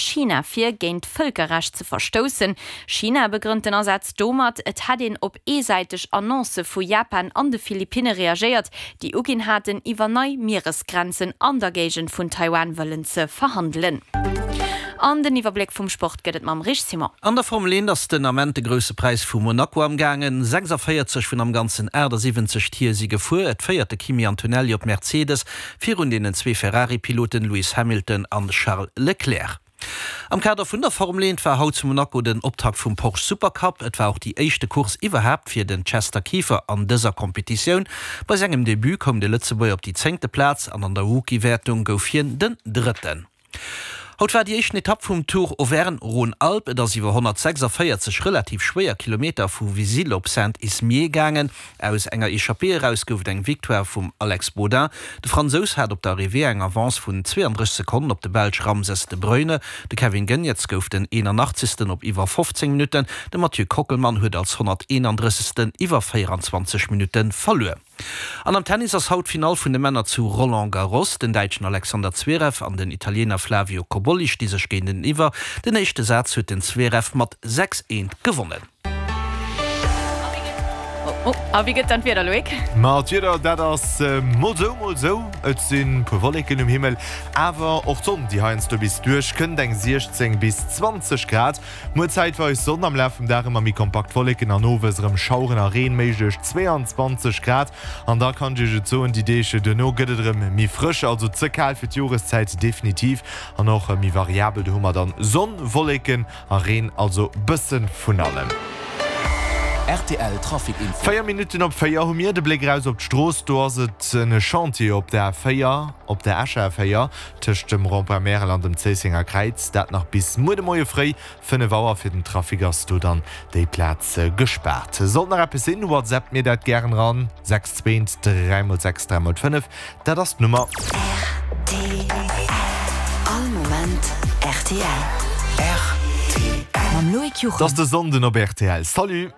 China vir, géint d'Vëlkerrecht ze verstoussen. China begrënnt den Asaz domat, et hätt een op eesäiteg Annoncë vu Japan an de Philippinne reagéiert, déi uginn haten, iwwer nei Mieresgrenzen an der Géigend vun Taiwan wëllen ze verhandelen. An den Iwwerbléck vum Sport gëtt et mam Rich Simon. An der Formel 1 ass den Ament de Grousse Präis vu Monaco am gaangen. 46 vun am Ganzen 78 Tier si gefuer. Et féiert de Kimi Antonelli op Mercedes virun deenen zwee Ferrari-Piloten Lewis Hamilton an Charles Leclerc. Am Kader vun der Formel 1 war haut zu Monaco den Optakt vum Porsche Supercup. Et war och déi éischte Course iwwerhaapt fir den Chester Kieffer an dëser Competitioun. Bei sengem Debut koum de Lëtzebuerger op déi zéngte Plaz an an der Rookie-Wäertung gouf hien den Drëtten. Haut war déi éischten Etapp vum Tour Auvergne-Rhône-Alpes. Et ass iwwer 146 relativ schwéier Kilometer vu Vizille op Saint-Ismier gaangen. Aus enger Echappée eraus gouf et eng Victoire vum Alex Baudin. De Fransous hat op der Arrivée eng Avance vun 32 Sekonnen op de Belsch Ramses de Bruyne. De Kevin Geniets gouf den 81. op iwwer 15 Minutten. De Mathieu Kockelmann huet als 131. iwwer 24 Minutte verluer. An am Tennis ass haut d'Finall vun de Männer zu Roland Garros. Den Däitschen Alexander Zverev an den Italiener Flavio Cobolli sti sech géinteniwwer. Den éischte Saz huet den Zverev mat 6, 1 gewonnen. A wéi gëtt dann d'Wieder, Loïc? Ma d'Wieder, dat ass mol sou, mol sou. Et sinn puer Wolleken um Himmel, awer och d'Sonn, déi heiansdo bis duerch kënnt. Eng 16 bis 20 Grad. Muer zäitweis Sonn, am Laf vum Dag ëmmer méi kompakt Wolleken an owes erëm Schaueren a Reen méiglech, 22 Grad. An da kann ech Iech et soen, déi Deeg duerno gëtt et erëm méi frësch, also ze kal fir d'Joreszäit definitiv an och méi variabel. Do hu mer dann Sonn, Wolleken A Reen, also bëssen vun allem. Rtl Trafic Info. 4 Minutten op 4 hu mir de Bléck eraus op d'Strooss. Do ass et en Chantier op der A4, op der Escher A4, tëscht dem Rond-point Märel an dem Zéissenger Kräiz. Dat nach bis muer de Moie fréi 5 Auer. Fir den Trafic ass do dann déi Plaz gespaart. Sollt nach eppes sinn, WhatsAppt mir dat gären eran, 6 2 3 x 6 3 x 5. Dat ass d'Nummer. Rtl. All Moment rtl. Rtl. Mam Loïc Juchem. 't ass de Sonnden op rtl. Salut!